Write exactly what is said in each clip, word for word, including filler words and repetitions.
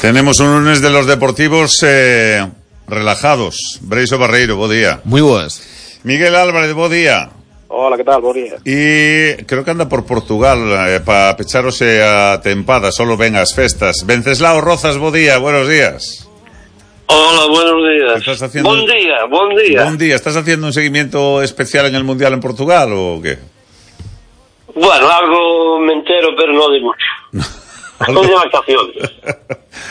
Tenemos un lunes de los deportivos eh, relajados. Breixo Barreiro, bo día. Muy boas. Miguel Álvarez, bo día. Hola, que tal? Bo día. E creo que anda por Portugal eh, para pecharose a tempada, solo ven as festas. Venceslao Rozas, bo día, buenos días. Hola, buenos días. ¿Estás haciendo... Buen día, buen día. Buen día. ¿Estás haciendo un seguimiento especial en el Mundial en Portugal o qué? Bueno, algo me entero, pero no de mucho. Estoy de vacaciones.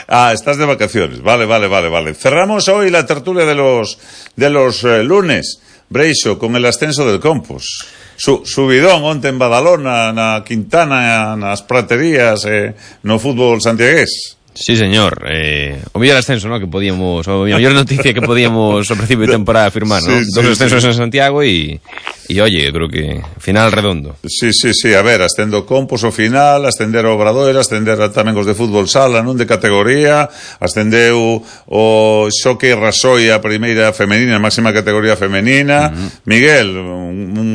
Ah, estás de vacaciones. Vale, vale, vale, vale. Cerramos hoy la tertulia de los de los eh, lunes, Breixo, con el ascenso del Compos. Su, subidón onte en Badalona, na Quintana, nas praterías, eh, no fútbol santiagués. Sí, señor. Eh, o mellor ascenso, ¿no? Que podíamos, o mellor noticia que podíamos ao principio de temporada afirmar, ¿no? Sí, Dos sí, ascensos sí. en Santiago y, y oye, creo que final redondo. Sí, sí, sí, a ver, ascendo Compos ao final, ascender ao Obradoiro, ascender tamén os de fútbol sala, non de categoría, ascendeu o Xoque Rasoi a primeira femenina, a máxima categoría femenina. Uh-huh. Miguel, un, un,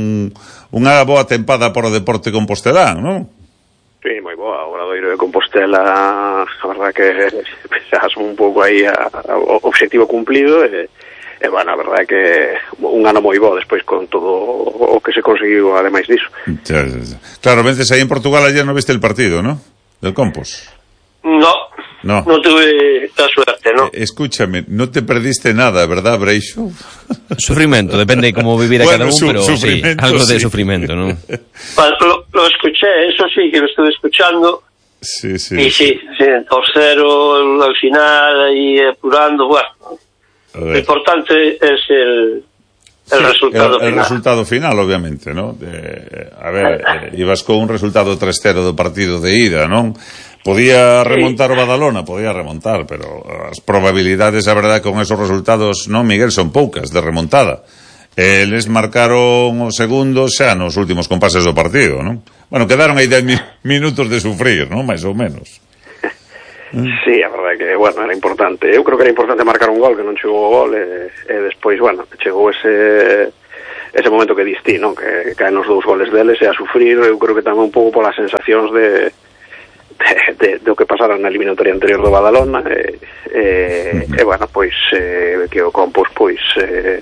unha boa tempada por o deporte compostelán, non? Sí, moi boa, o Obradoiro de Compostela, a verdad que pensas un pouco aí a, a, o objetivo cumplido e, e bueno, a verdad que un ano moi bo despois con todo o que se conseguiu ademais diso. Ya, ya, ya. Claro, vences aí en Portugal, ayer no viste el partido, ¿no? Del Compos. No, no, no tuve la suerte, ¿no? Eh, escúchame, no te perdiste nada, ¿verdad, Breixo? Sufrimiento, depende de cómo vivir a bueno, cada uno, su, pero sí, algo sí. de sufrimiento, ¿no? Bueno, lo, lo escuché, eso sí, que lo estuve escuchando. Sí, sí. Y sí, sí, tercero al final, ahí apurando, bueno. Lo importante es el... El sí, resultado el, el final. resultado final, obviamente, ¿no? De, a ver, eh, ibas con un resultado tres cero do partido de ida, ¿non? Podía remontar o Badalona, podía remontar, pero as probabilidades, a verdade, con esos resultados, non, Miguel, son poucas de remontada. Eles marcaron o segundo xa nos últimos compases do partido, non? Bueno, quedaron aí dez mi- minutos de sufrir, non? Mais ou menos. Sí, a verdade que, bueno, era importante. Eu creo que era importante marcar un gol, que non chegou o gol, e, e despois, bueno, chegou ese ese momento que distí, non? Que caen os dous goles deles e a sufrir, eu creo que tamén un pouco polas sensacións de de, de, de o que pasara na eliminatoria anterior do Badalona e, e, e bueno, pois eh, que o Compos pois eh,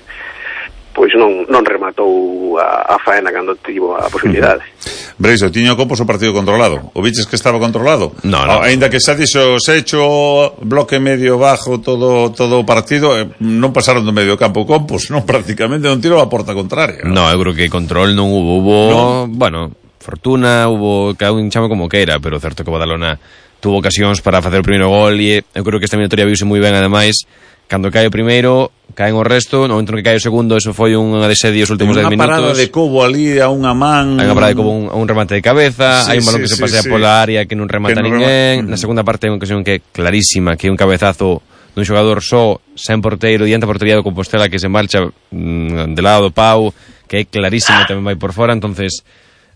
pois non, non rematou a, a faena cando tivo a posibilidade. Breixo, tiño o Compos o partido controlado. O viches que estaba controlado? No, no. Ainda que xa dixo se hecho bloque medio bajo todo todo o partido, eh, non pasaron do medio campo Compos, non, prácticamente non tirou a porta contraria. No, eu creo que control non hubo, hubo, no. bueno, fortuna, hubo cada un chame como que era, pero certo que o Badalona tuvo ocasións para facer o primeiro gol e eu creo que esta minatoria viuse moi ben ademais. Cando cae o primeiro, caen o resto, no momento no que cae o segundo, eso foi unha desedia os últimos dez minutos. Unha parada de Cobo ali a unha man. Hai unha parada de Cobo a un, un remate de cabeza, sí, hai un balón sí, que se sí, pasea sí. pola área que non remata que non ninguén. Rema... Na segunda parte hai unha ocasión que é clarísima, que é un cabezazo dun xogador só, sen porteiro, diante a portería do Compostela que se marcha mmm, de lado do pau, que é clarísimo, tamén vai por fora. Entonces,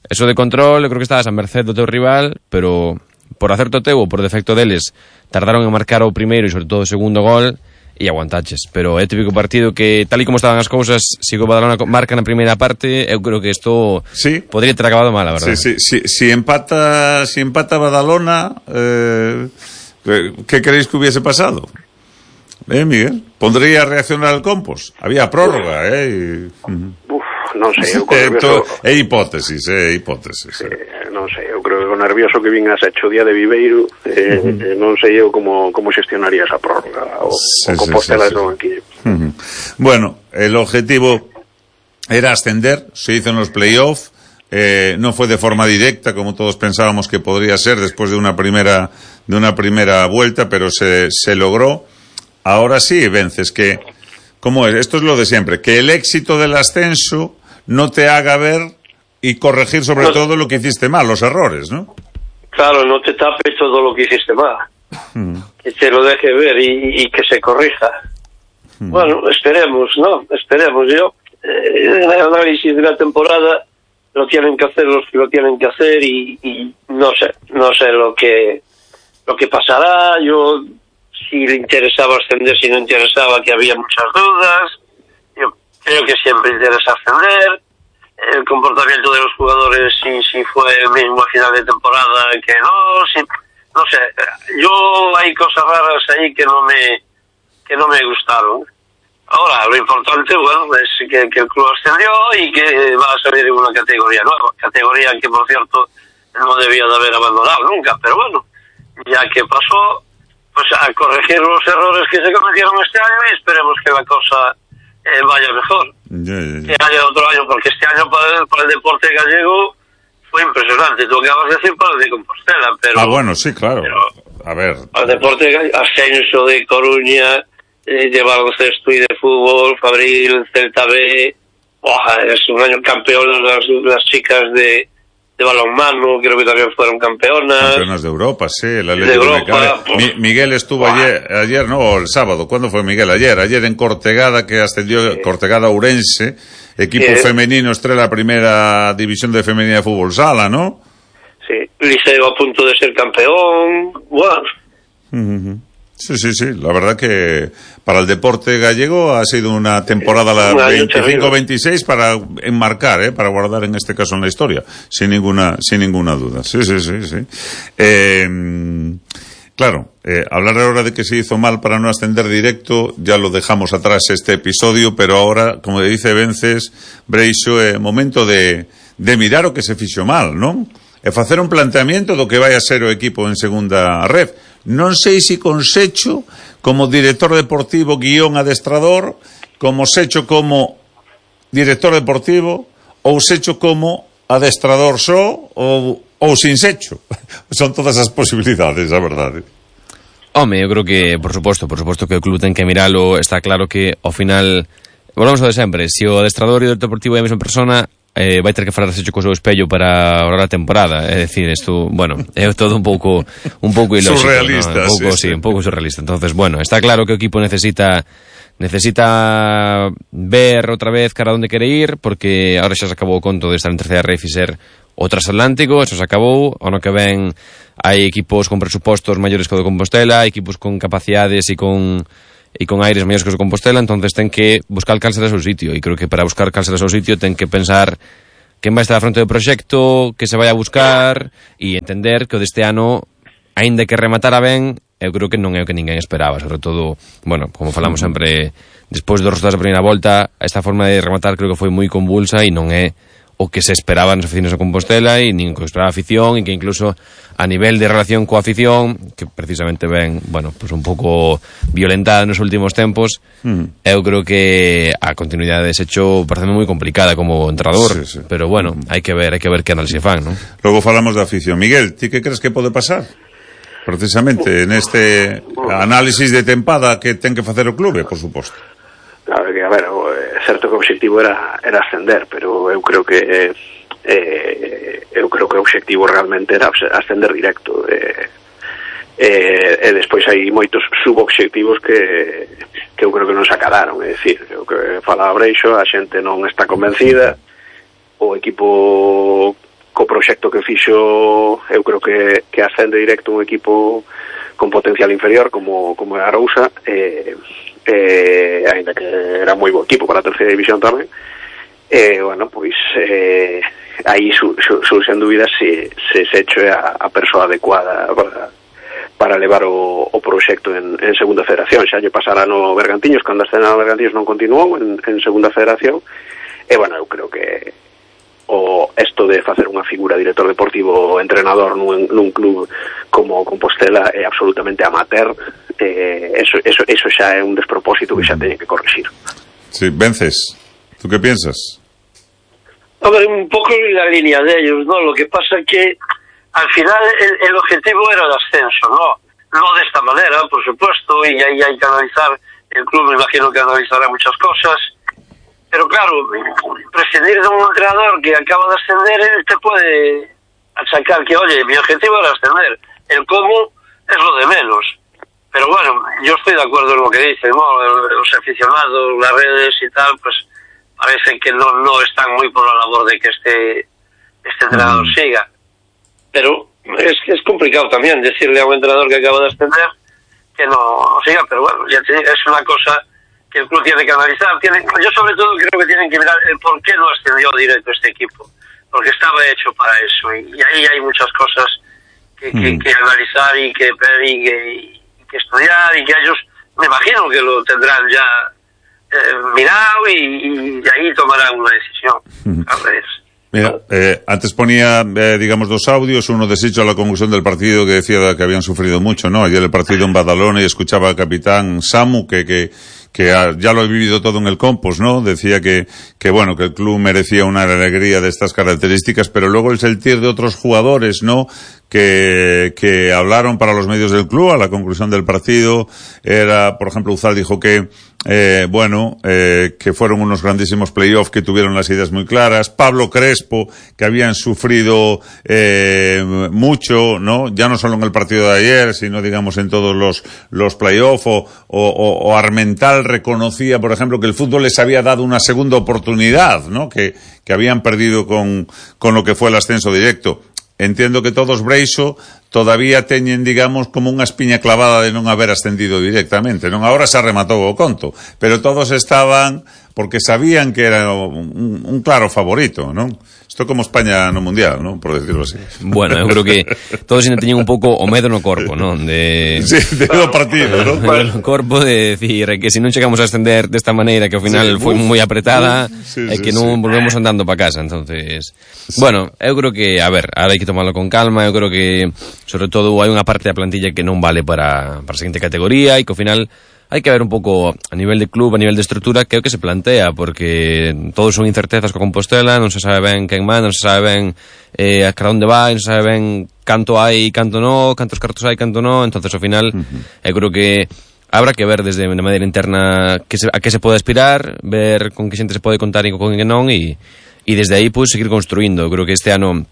eso de control, eu creo que estabas a merced do teu rival, pero por acerto teu ou por defecto deles, tardaron en marcar o primeiro e sobre todo o segundo gol, e aguantaches, pero é típico partido que tal e como estaban as cousas, se o Badalona marca na primeira parte, eu creo que isto sí. podría ter acabado mal, a verdade. Sí, sí, sí, si empata, si empata Badalona, eh, que queréis que hubiese pasado? Eh, Miguel, pondría a reaccionar al Compos. Había prórroga, eh. Y... Uf, non sei, eu con Eh, nervioso... to, é hipótesis, é hipótesis. Eh, non sei, eu creo que con nervioso que vin a Secho día de Viveiro, eh, uh-huh. non sei eu como, como xestionaría esa prórroga o, sí, o Compostela sí, sí, de sí. banquillo. Uh-huh. Bueno, el objetivo era ascender, se hizo en los playoffs, eh, no fue de forma directa como todos pensábamos que podría ser después de una primera de una primera vuelta, pero se, se logró. Ahora sí vences, que ¿cómo es? Esto es lo de siempre, que el éxito del ascenso no te haga ver y corregir sobre no, todo lo que hiciste mal, los errores, ¿no? Claro, no te tapes todo lo que hiciste mal. Mm. Que te lo deje ver y, y que se corrija. Mm. Bueno, esperemos, ¿no? Esperemos. Yo, eh, en el análisis de la temporada, lo tienen que hacer los que lo tienen que hacer y, y no sé, no sé lo que, lo que pasará. Yo, si le interesaba ascender, si no interesaba, que había muchas dudas. Yo creo que siempre interesa ascender. El comportamiento de los jugadores, si, si fue el mismo a final de temporada que no, si, no sé, yo hay cosas raras ahí que no me que no me gustaron. Ahora, lo importante, bueno, es que, que el club ascendió y que va a salir en una categoría nueva, categoría que, por cierto, no debía de haber abandonado nunca, pero bueno, ya que pasó, pues a corregir los errores que se cometieron este año y esperemos que la cosa eh, vaya mejor. Yeah, yeah, yeah. Que haya otro año, porque este año para el, para el deporte gallego fue impresionante. Tú acabas de decir para el de Compostela, pero... Ah, bueno, sí, claro. Pero, a ver... Para el deporte gallego, ascenso de Coruña... Eh, de baloncesto y de fútbol, Fabril, Celta B, ¡buah! Es un año campeón las, las chicas de, de balonmano, creo que también fueron campeonas. Campeonas de Europa, sí, la de Europa. Pues, Mi, Miguel estuvo ¡buah! ayer, ayer, no, o el sábado, ¿cuándo fue Miguel? Ayer, ayer en Cortegada, que ascendió, sí. Cortegada Ourense, equipo sí. femenino, estrella primera división de femenina de fútbol sala, ¿no? Sí, Liceo a punto de ser campeón, ¡buah! Uh-huh. Sí, sí, sí. La verdad que para el deporte gallego ha sido una temporada la veinticinco veintiséis para enmarcar, ¿eh? Para guardar en este caso en la historia, sin ninguna, sin ninguna duda. Sí, sí, sí, sí. Eh, claro, eh, hablar ahora de que se hizo mal para no ascender directo, ya lo dejamos atrás este episodio, pero ahora, como dice Vences, Breixo, é eh, momento de, de mirar o que se fixo mal, non? E facer un planteamiento do que vai a ser o equipo en segunda red. Non sei se con Secho como director deportivo guión adestrador, como Secho como director deportivo, ou Secho como adestrador só, ou, ou sin Secho. Son todas as posibilidades, a verdade. Home, eu creo que, por suposto, por suposto que o club ten que miralo. Está claro que, ao final, volvemos ao de sempre, se o adestrador e o deportivo é a mesma persona, Eh, vai ter que falar Secho co seu espello para ahorrar a temporada. É dicir, isto, bueno, é todo un pouco un pouco ilógico, surrealista, ¿no? Un pouco, sí, sí, sí, un pouco surrealista. Entonces, bueno, está claro que o equipo necesita necesita ver outra vez cara onde quere ir, porque ahora xa se acabou o conto de estar en terceira ref e ser o transatlántico, eso se acabou. O ano que ven hai equipos con presupostos maiores que o de Compostela, equipos con capacidades e con e con aires maiores que os de Compostela, entonces ten que buscar cal será o seu sitio, e creo que para buscar cal será o seu sitio ten que pensar quen vai estar a fronte do proxecto, que se vai a buscar, e entender que o deste ano, aínda que rematara ben, eu creo que non é o que ninguén esperaba, sobre todo, bueno, como falamos sempre, despois dos resultados da primeira volta, esta forma de rematar creo que foi moi convulsa e non é o que se esperaba nas oficinas de Compostela e nin que esperaba a afición, e que incluso a nivel de relación coa afición, que precisamente ven, bueno, pues un pouco violentada nos últimos tempos, mm. eu creo que a continuidade de Secho parece moi complicada como entrenador, sí, sí. Pero bueno, hai que ver, hai que ver que análise fan, ¿no? Logo falamos da afición. Miguel, ti que crees que pode pasar? Precisamente neste análisis de tempada que ten que facer o clube, por suposto. Claro que, a ver, é certo que o objetivo era, era ascender, pero eu creo que eh, eu creo que o objetivo realmente era ascender directo. Eh, eh, e despois hai moitos subobxectivos que, que eu creo que non se acadaron. É dicir, o que fala Breixo, a xente non está convencida, o equipo co proxecto que fixo, eu creo que, que ascende directo un equipo con potencial inferior como, como é a Arousa, eh, eh, ainda que era moi bo equipo para a terceira división tamén, eh, bueno, pois eh, aí su, su, surxen dúbidas se, se Secho é a, a persoa adecuada para, para levar o, o proxecto en, en segunda federación. Xa lle pasara no Bergantiños, cando a escena no Bergantiños non continuou en, en segunda federación, e bueno, eu creo que o esto de facer unha figura director deportivo ou entrenador nun, nun club como Compostela é absolutamente amateur. Eh, eso, eso, eso xa é un despropósito que xa teñen que corregir. Sí, Vences, ¿tú qué piensas? A ver, un poco en la línea de ellos, ¿no? Lo que pasa que al final el, el objetivo era el ascenso, ¿no? No de esta manera, por supuesto, y ahí hay que analizar, el club me imagino que analizará muchas cosas. Pero claro, prescindir de un entrenador que acaba de ascender, él te puede achacar que, oye, mi objetivo era ascender. El cómo es lo de menos. Pero bueno, yo estoy de acuerdo en lo que dicen, ¿no? Los aficionados, las redes y tal, pues parece que no, no están muy por la labor de que este, este entrenador mm. siga. Pero es, es complicado también decirle a un entrenador que acaba de ascender que no siga, pero bueno, ya te digo, es una cosa que el club tiene que analizar. Tiene, yo sobre todo creo que tienen que mirar el por qué no ascendió directo este equipo, porque estaba hecho para eso, y, y ahí hay muchas cosas que, que, que analizar y que, y que, y que estudiar, y que ellos, me imagino que lo tendrán ya eh, mirado y, y ahí tomarán una decisión. A ver. Mira, eh, antes ponía, eh, digamos, dos audios, uno deshecho a la conclusión del partido que decía que habían sufrido mucho, ¿no? Ayer el partido en Badalona y escuchaba al capitán Samu que, que, que ya lo he vivido todo en el Compost, ¿no? Decía que, que bueno, que el club merecía una alegría de estas características, pero luego el sentir de otros jugadores, ¿no? Que, que hablaron para los medios del club a la conclusión del partido, era, por ejemplo, Uzal dijo que, eh, bueno, eh, que fueron unos grandísimos playoffs, que tuvieron las ideas muy claras. Pablo Crespo, que habían sufrido, eh, mucho, ¿no? Ya no solo en el partido de ayer, sino, digamos, en todos los, los playoffs, o, o, o Armental reconocía, por ejemplo, que el fútbol les había dado una segunda oportunidad, ¿no? Que, que habían perdido con, con lo que fue el ascenso directo. Entiendo que todos Breixo todavía teñen, digamos, como unha espiña clavada de non haber ascendido directamente, non? Ahora se rematou o conto, pero todos estaban porque sabían que era un, un claro favorito, non? Isto como España no Mundial, non? Por decirlo así. Bueno, eu creo que todos ainda teñen un pouco o medo no corpo, non? De... Sí, de do partido, non? O medo no corpo de decir que se non chegamos a ascender desta maneira, que ao final sí, foi moi apretada, sí, e sí, que non sí. volvemos andando para casa, entonces... Sí. Bueno, eu creo que, a ver, ahora hai que tomarlo con calma, eu creo que, sobre todo, hai unha parte da plantilla que non vale para, para a seguinte categoría, e que ao final... hai que ver un pouco a nivel de club, a nivel de estrutura, que é o que se plantea, porque todos son incertezas co Compostela, non se sabe ben quen manda, non se sabe ben eh, a cara onde vai, non se sabe ben canto hai, canto no, cantos cartos hai, canto no, entonces ao final, uh-huh. eu creo que habrá que ver desde de maneira interna que se, a que se pode aspirar, ver con que xente se pode contar e con que non, e, e desde aí, pois, seguir construindo. Eu creo que este ano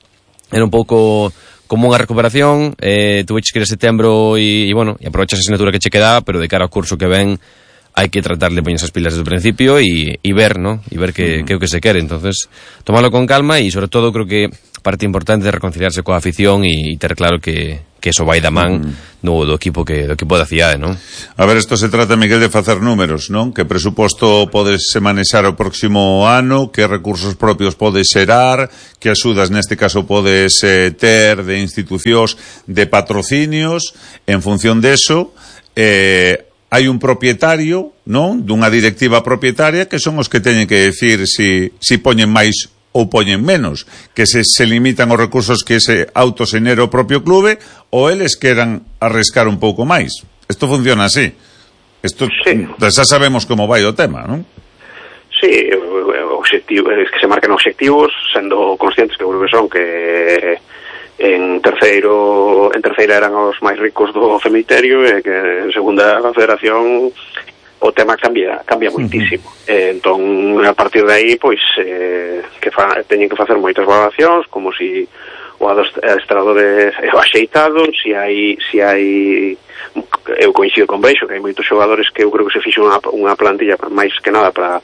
era un pouco... como unha recuperación, eh, tuveches que ir a setembro e, e bueno, e aprovechas a asignatura que che quedaba, pero de cara ao curso que ven hai que tratar de poñer esas pilas desde o principio e, e ver, ¿no? E ver que, uh-huh. que é o que se quere. Entonces, tomarlo con calma e, sobre todo, creo que parte importante é reconciliarse coa afición e, e ter claro que, que eso vai da man uh-huh. no, do equipo que do equipo da cidade, non? A ver, isto se trata, Miguel, de facer números, non? Que presuposto podes manexar o próximo ano, que recursos propios podes xerar, que axudas neste caso podes eh, ter de institucións, de patrocinios. En función deso, eh, hai un propietario, non? Dunha directiva propietaria que son os que teñen que decir si, si poñen máis ou poñen menos, que se, se limitan os recursos que se autoxenera o propio clube, ou eles queran arriscar un pouco máis. Isto funciona así. Isto, sí. Xa sabemos como vai o tema, non? Sí, objetivo, es que se marquen objetivos, sendo conscientes que creo que son que en terceiro en terceira eran os máis ricos do cemiterio e que en segunda a federación o tema cambia cambia moitísimo. Uh-huh. eh, entón, a partir de aí, pois, eh, que fa, teñen que facer moitas valoracións, como si o adestrador é axeitado, si hai, si hai, eu coincido con Breixo, que hai moitos xogadores que eu creo que se fixo unha, unha plantilla máis que nada para,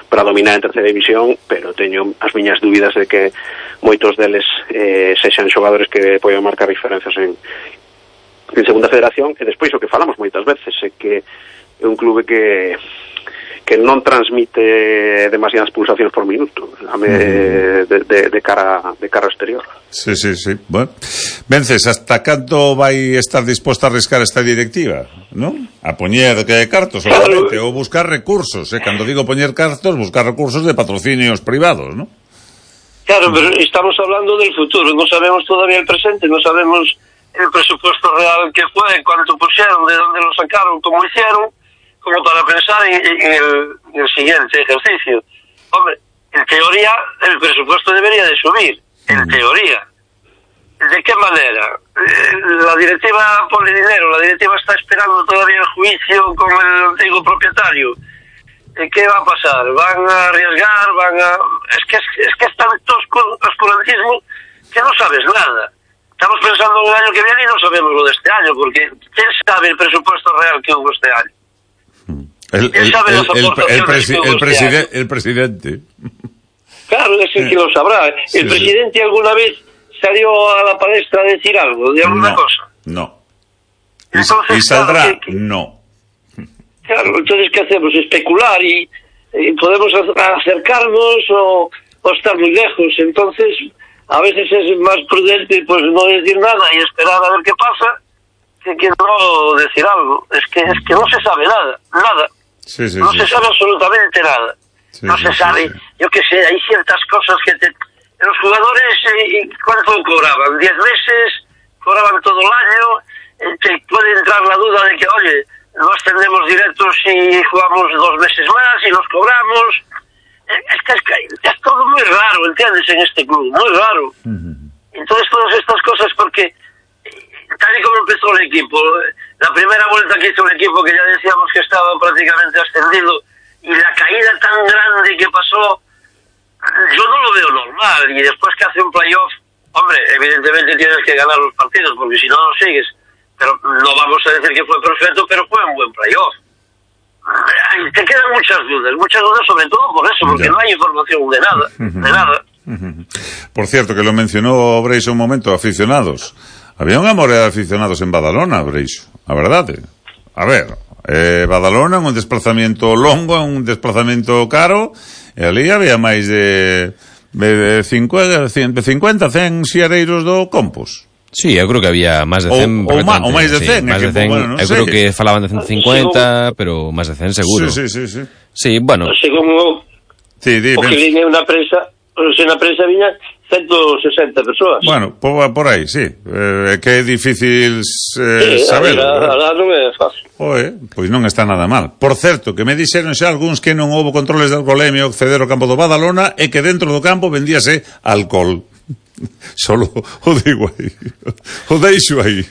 para dominar en terceira división, pero teño as miñas dúbidas de que moitos deles eh, sexan xogadores que poden marcar diferenzas en, en segunda federación. E despois o que falamos moitas veces é que é un clube que que non transmite demasiadas pulsacións por minuto de, de, de cara de cara exterior. Sí, sí, sí. Bueno, Vences, hasta canto vai estar disposta a arriscar esta directiva, non? A poñer que cartos, obviamente, claro. Ou buscar recursos, eh? Cando digo poñer cartos, buscar recursos de patrocinios privados, ¿no? Claro, pero estamos hablando del futuro, no sabemos todavía el presente, no sabemos el presupuesto real que fue, cuánto pusieron, de dónde lo sacaron, cómo hicieron, como para pensar en, en, el, en el siguiente ejercicio. Hombre, en teoría el presupuesto debería de subir, en teoría. ¿De qué manera? La directiva pone dinero, la directiva está esperando todavía el juicio con el antiguo propietario. ¿Qué va a pasar? ¿Van a arriesgar? ¿Van a...? Es que es, es que es tan oscurantismo que no sabes nada. Estamos pensando en el año que viene y no sabemos lo de este año, porque ¿quién sabe el presupuesto real que hubo este año? El, el, el, el, el, presi el, preside el presidente. Claro, es el que lo sabrá. ¿El sí, presidente sí. alguna vez salió a la palestra a decir algo de alguna no, cosa? No. Entonces, ¿y saldrá? Claro, que, que, no. Claro, entonces, ¿qué hacemos? Especular y, y podemos acercarnos o, o estar muy lejos. Entonces, a veces es más prudente pues no decir nada y esperar a ver qué pasa que, que no decir algo. Es que es que no se sabe nada, nada. Sí, sí, no sí, se sí. sabe absolutamente nada. Sí, no sí, se sí, sabe, sí. yo qué sé, hay ciertas cosas que te... Los jugadores, eh, ¿cuánto cobraban? ¿Diez meses? ¿Cobraban todo el año? Eh, te puede entrar la duda de que, oye, no ascendemos directos y jugamos dos meses más y los cobramos. Eh, es que es, que es todo muy raro, ¿entiendes? En este club, muy raro. Uh-huh. Entonces todas estas cosas, porque tal y como empezó el equipo, la primera vuelta que hizo el equipo, que ya decíamos que estaba prácticamente ascendido, y la caída tan grande que pasó, yo no lo veo normal. Y después que hace un playoff, hombre, evidentemente tienes que ganar los partidos, porque si no, no sigues. Pero no vamos a decir que fue perfecto, pero fue un buen playoff. Te quedan muchas dudas, muchas dudas sobre todo por eso, porque ya. no hay información de nada, de nada. Por cierto, que lo mencionó Breixo un momento, aficionados. Había unha moré de aficionados en Badalona, Breixo, a verdade. A ver, eh, Badalona, un desplazamiento longo, un desplazamiento caro, e ali había máis de, de cincuenta, cen xiareiros do Compos. Sí, eu creo que había máis de cen. Ou, ou, ma, ou máis de cen. Sí, máis de cen. Bueno, non eu sei. creo que falaban de ciento cincuenta, pero máis de cen seguro. Sí, sí, sí, sí. Sí, bueno. Según Sí, di, o que ben... viña na prensa, se na prensa viña ciento sesenta persoas. Bueno, por, por aí, sí. Eh, que é difícil eh, sí, saberlo. A la non é fácil. Oe, pois non está nada mal. Por certo, que me dixeron xa algúns que non houbo controles de alcoholemia ao acceder ao campo do Badalona e que dentro do campo vendíase alcohol. Solo o digo aí. O deixo aí.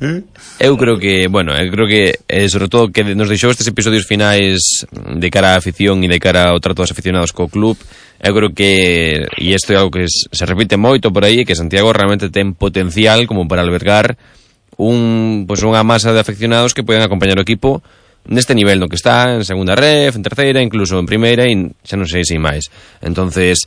Eh? Eu creo que, bueno, eu creo que eh, sobre todo que nos deixou estes episodios finais de cara á afición e de cara ao trato dos aficionados co club. Eu creo que, e isto é algo que se repite moito por aí, que Santiago realmente ten potencial como para albergar un, pues unha masa de aficionados que poden acompañar o equipo neste nivel no que está, en segunda ref, en terceira, incluso en primeira, e xa non sei se máis. Entonces,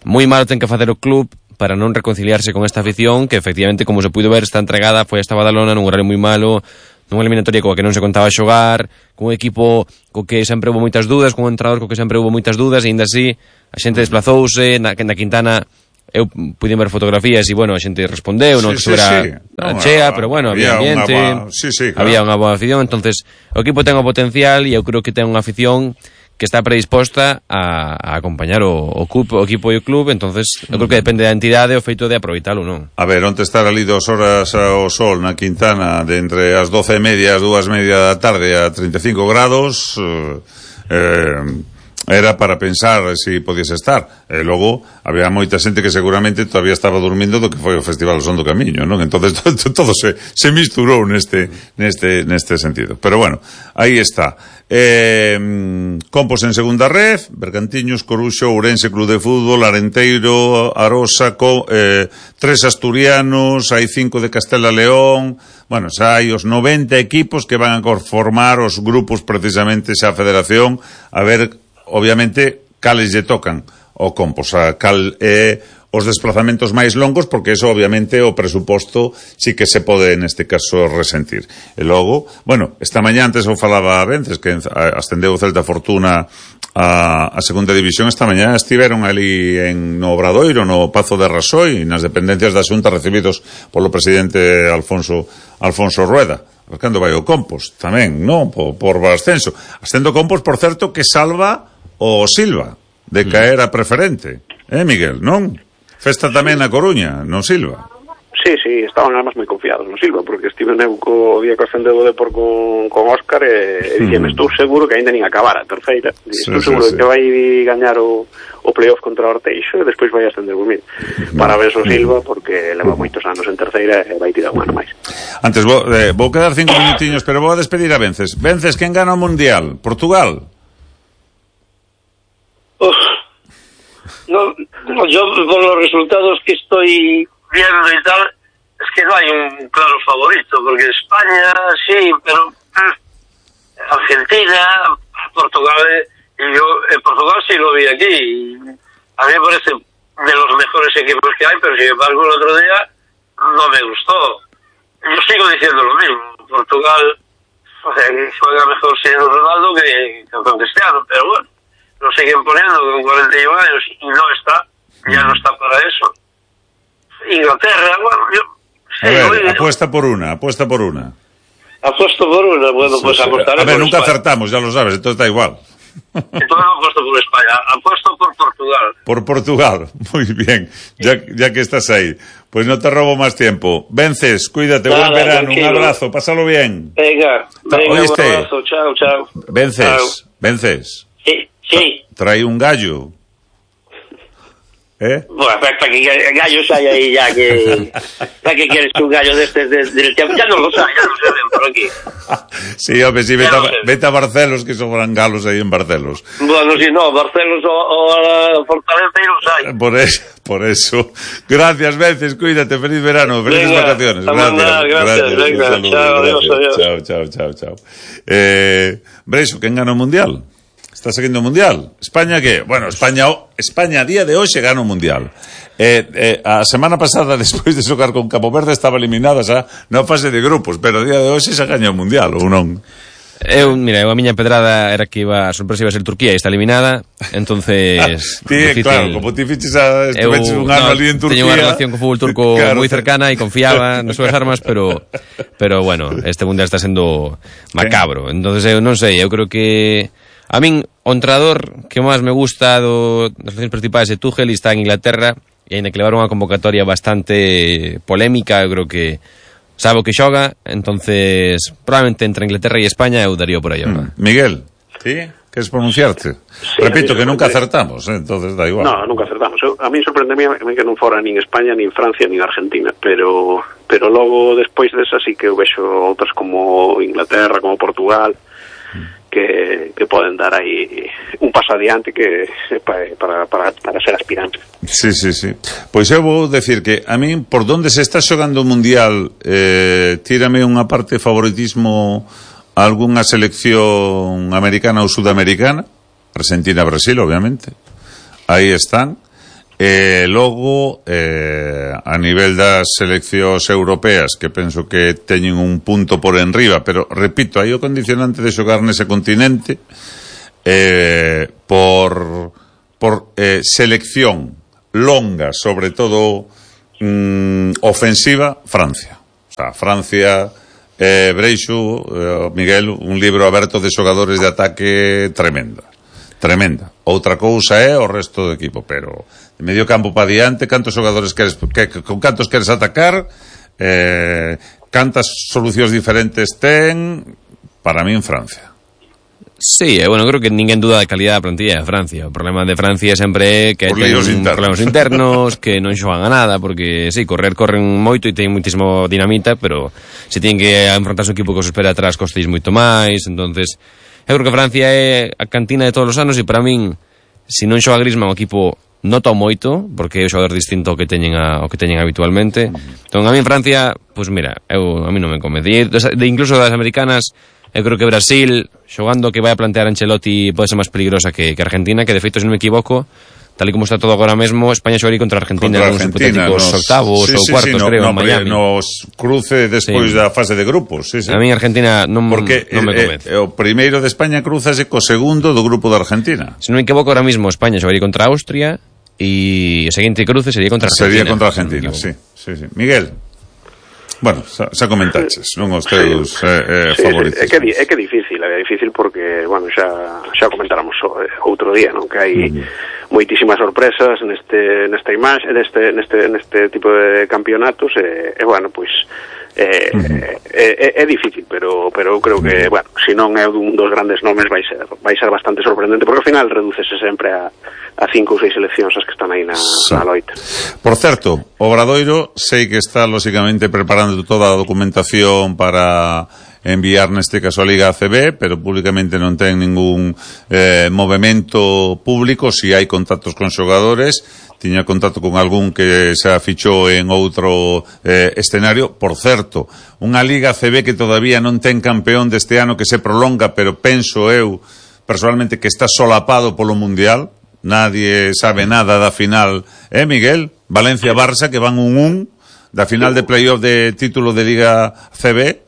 moi mal ten que facer o club para non reconciliarse con esta afición que efectivamente, como se puido ver, está entregada, foi esta Badalona nun horario moi malo, nunha eliminatoria coa que non se contaba xogar, con un equipo co que sempre houve moitas dudas, con un entrenador co que sempre houve moitas dudas, e ainda así a xente desplazouse, na, na Quintana eu pude ver fotografías e, bueno, a xente respondeu, non sí, que sí, era sí. no, No, chea, pero, bueno, había ambiente, boa... sí, sí, claro. había unha boa afición, entonces o equipo ten o potencial e eu creo que ten unha afición que está predisposta a, a acompañar o, o, club, o equipo e o club, entonces eu creo que depende da entidade o feito de aproveitalo, non? A ver, onde estar ali dos horas ao sol na Quintana de entre as doce e media e as dúas e media da tarde a treinta e cinco grados eh, eh, era para pensar se si podías estar. E logo había moita xente que seguramente todavía estaba dormindo do que foi o Festival Son do Camiño, non? Entonces todo, todo se, se misturou neste, neste, neste sentido. Pero bueno, aí está. Eh, Compos en segunda ref, Bergantiños, Coruxo, Ourense, Club de Fútbol, Arenteiro, Arosa, Co, eh, tres asturianos, hai cinco de Castela León. Bueno, xa hai os noventa equipos que van a conformar os grupos precisamente xa a federación, a ver obviamente cales lle tocan o Compos, a cal é os desplazamentos máis longos, porque eso obviamente o presuposto sí que se pode neste caso resentir. E logo, bueno, esta mañá antes eu falaba a Vences que ascendeu o Celta Fortuna a, a segunda división, esta mañá estiveron ali en no Obradoiro, no Pazo de Rasoi, nas dependencias da Xunta recibidos polo presidente Alfonso Alfonso Rueda. Cando vai o Compos tamén, non? Por, por ascenso. Ascendo Compos, por certo, que salva o Silva de caer a preferente. Eh, Miguel, non? Festa tamén na Coruña, no Silva. Sí, sí, estaban además moi confiados no Silva, porque estive eu co día que ascendeu o Depor con, con Óscar e, e dixeme, estou seguro que ainda nin acabara a terceira. Sí, estou sí, seguro sí. que vai gañar o, o playoff contra o Orteixo e despois vai ascender o Mil. Para ver o Silva, porque leva moitos anos en terceira e vai tirar un ano máis. Antes, vou, eh, vou quedar cinco minutiños, pero vou a despedir a Vences. Vences, quen gana o Mundial? Portugal? Uf, no, no, yo por los resultados que estoy viendo y tal, es que no hay un claro favorito, porque España sí, pero eh, Argentina, Portugal, y yo en Portugal sí lo vi aquí, y a mí me parece de los mejores equipos que hay, pero sin embargo el otro día no me gustó. Yo sigo diciendo lo mismo, Portugal eh, juega mejor sin Ronaldo que, que con Cristiano, pero bueno, lo siguen poniendo con cuarenta y uno años y no está, ya no está para eso. Inglaterra, bueno, yo... A ver, oye, apuesta por una, apuesta por una. Apuesto por una, bueno, pues apostaré. A ver, nunca España. Acertamos, ya lo sabes, entonces da igual. Entonces apuesto por España, apuesto por Portugal. Por Portugal, muy bien, ya, ya que estás ahí. Pues no te robo más tiempo. Vences, cuídate, Nada, buen verano, tranquilo. Un abrazo, pásalo bien. Venga, venga, ¿oíste? Un abrazo, chao, chao. Vences, chao. Vences. Sí, sí. Trae un gallo. ¿Eh? Bueno, para que gallos hay ahí ya que... ¿Para qué quieres que un gallo de este del tiempo? Ya no lo sabe, ya no se ven por aquí. Sí, hombre, sí, vete, a, vete a Barcelos, que sobran galos ahí en Barcelos. Bueno, si no, Barcelos o, o a Fortaleza y los hay. Por eso, por eso. Gracias, Vences, cuídate, feliz verano, felices venga, vacaciones. Gracias, nada, gracias, gracias, venga, saludo, chao, gracias. Adiós, adiós. Chao, chao, chao, chao. Eh, Breixo, ¿quién gana el Mundial? Está seguindo o Mundial. España que, bueno, España España a día de hoxe gana o Mundial. Eh, eh, a semana pasada, despois de xogar con Cabo Verde, estaba eliminada xa na fase de grupos, pero a día de hoxe xa gaña o Mundial, ou non? Eu, mira, eu a miña pedrada era que iba a sorpresa iba a ser Turquía e está eliminada, entonces... Ti, difícil, claro, como ti fiches a, estuveches un ano no, ali en Turquía... Teño unha relación co fútbol turco claro. moi cercana e confiaba nas súas armas, pero pero bueno, este Mundial está sendo macabro. Entonces eu non sei, eu creo que... A min, o entrenador que máis me gusta do, das relacións principais de Tuchel está en Inglaterra e aínda que levaron unha convocatoria bastante polémica, eu creo que sabe o que xoga, entonces probablemente entre Inglaterra e España eu daría por aí ahora. Mm. Miguel, ¿sí? ¿Queres pronunciarte? Sí, repito que nunca acertamos, ¿eh? Entonces da igual. No, nunca acertamos. Eu, a mí sorprende que non fora nin España, nin Francia, nin Argentina, pero pero logo despois desa sí que eu vexo outras como Inglaterra, como Portugal, que, que poden dar aí un paso adiante que para, para, para ser aspirante. Sí, sí, sí. Pois eu vou decir que a min, por donde se está xogando o Mundial, eh, tírame unha parte de favoritismo a algunha selección americana ou sudamericana, Argentina, Brasil, obviamente. Aí están. E logo, eh, a nivel das seleccións europeas, que penso que teñen un punto por enriba, pero, repito, hai o condicionante de xogar nese continente eh, por, por eh, selección longa, sobre todo mm, ofensiva, Francia. O sea, Francia, eh, Breixo, eh, Miguel, un libro aberto de xogadores de ataque tremenda. Tremenda. Outra cousa é o resto do equipo, pero de medio campo para diante, cantos xogadores queres, que, con cantos queres atacar, eh, cantas solucións diferentes ten, para mí en Francia. Sí, bueno, creo que ninguén duda da calidad da plantilla de Francia. O problema de Francia sempre é que ten problemas internos, que non xogan a nada, porque sí, correr corren moito e ten muitísimo dinamita, pero se tienen que enfrontar o equipo que os espera atrás costéis moito máis, entonces eu creo que Francia é a cantina de todos os anos e para min, se non xoga Griezmann o equipo nota moito, porque é o xogador distinto ao que teñen a, ao que teñen habitualmente. Entón, a min Francia, pois pues mira, eu, a mí non me convence. E de, incluso das americanas, eu creo que Brasil, xogando que vai a plantear Ancelotti, pode ser máis peligrosa que, que Argentina, que de feito, se non me equivoco, tal e como está todo agora mesmo, España xogaría contra Argentina contra nos hipotéticos nos... octavos sí, ou sí, cuartos, sí, no, creo, no, en Miami. Nos cruce despois sí. da fase de grupos. Sí, sí. A mí Argentina non, porque non me convence. Eh, o primeiro de España cruzase co segundo do grupo de Argentina. Se non me equivoco, ahora mismo España xogaría contra Austria e o seguinte cruce sería contra Argentina. Sería contra Argentina, sí, sí, sí. Miguel. Bueno, xa, xa comentaches, non os teus sí. eh, eh, sí, favoritos. Sí, é que é que difícil, é difícil porque, bueno, xa xa comentáramos outro día, non, que hai mm. moitísimas sorpresas neste nesta imaxe, neste neste neste tipo de campeonatos e, e bueno, pois eh, mm. é, é, é difícil, pero pero eu creo que, mm. bueno, se non é un dos grandes nomes vai ser vai ser bastante sorprendente, porque ao final redúcese sempre a a cinco ou seis seleccións as que están aí na, sí. na loita. Por certo, Obradoiro sei que está lógicamente preparando toda a documentación para enviar neste caso a Liga A C B, pero públicamente non ten ningún eh, movimento público. Si hai contactos con xogadores, tiña contacto con algún que se fichou en outro eh, escenario. Por certo, unha Liga A C B que todavía non ten campeón deste ano, que se prolonga, pero penso eu personalmente que está solapado polo Mundial. Nadie sabe nada da final, eh, Miguel? Valencia-Barça, que van un un da final de playoff de título de Liga C B.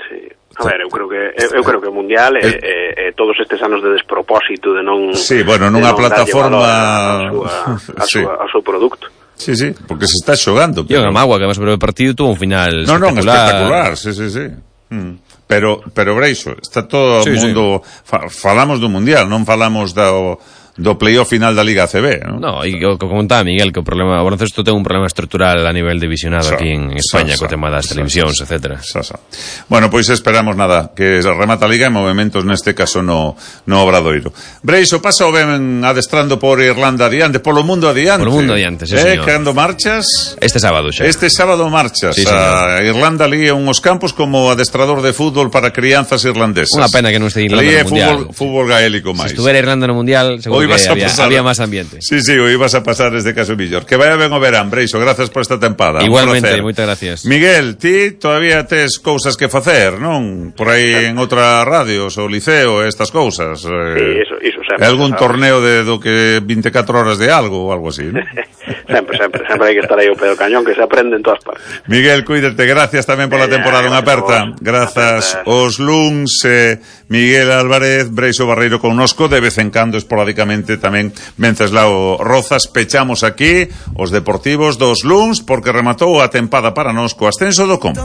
Sí. A ver, eu creo que eu, eu creo que o Mundial é, el... é, é todos estes anos de despropósito, de non... Sí, bueno, nunha plataforma... A súa, a, sí. súa, a súa produto. Sí, sí, porque se está xogando. Pero... E o Gamagua, que además sobre o partido tuvo un final no, espectacular. Non, espectacular, sí, sí, sí. Mm. Pero, pero Breixo, está todo o sí, mundo... Sí. Fa, falamos do Mundial, non falamos do... do playoff final da Liga A C B, non? No, e o que comentaba Miguel, que o problema, o baloncesto ten un problema estrutural a nivel de visionado sa, aquí en España, sa, co tema das sa, televisións, sa, etcétera. Sa, sa. Bueno, pois pues esperamos nada, que remata a Liga e movimentos neste caso no, no Obradoiro. Breixo, pasa o ben adestrando por Irlanda adiante, polo mundo adiante. Polo mundo adiante, sí, eh, señor. Cando marchas? Este sábado xa. Este sábado marchas sí, a Irlanda ali en uns campos como adestrador de fútbol para crianzas irlandesas. Unha pena que non este Irlanda no Mundial. Fútbol, fútbol gaélico máis. Se estuvera Irlanda no Mundial, seguro que había, había máis ambiente. Sí, sí, o ibas a pasar desde caso millor. Que vaya ben o verán, Breixo, gracias por esta tempada. Igualmente, moitas gracias. Miguel, ti todavía tes cousas que facer, non? Por aí en outra radios, o liceo, estas cousas. Sí, iso, iso sempre. Algún torneo de do que veinticuatro horas de algo ou algo así, non? sempre, sempre, sempre hai que estar aí o pedo cañón, que se aprende en todas partes. Miguel, cuídate, gracias tamén pola temporada unha aperta. Grazas os luns, eh, Miguel Álvarez, Breixo Barreiro connosco, de vez en cando esporádicamente tamén Venceslao Rozas. Pechamos aquí os deportivos dos luns porque rematou a tempada para nós co ascenso do Com.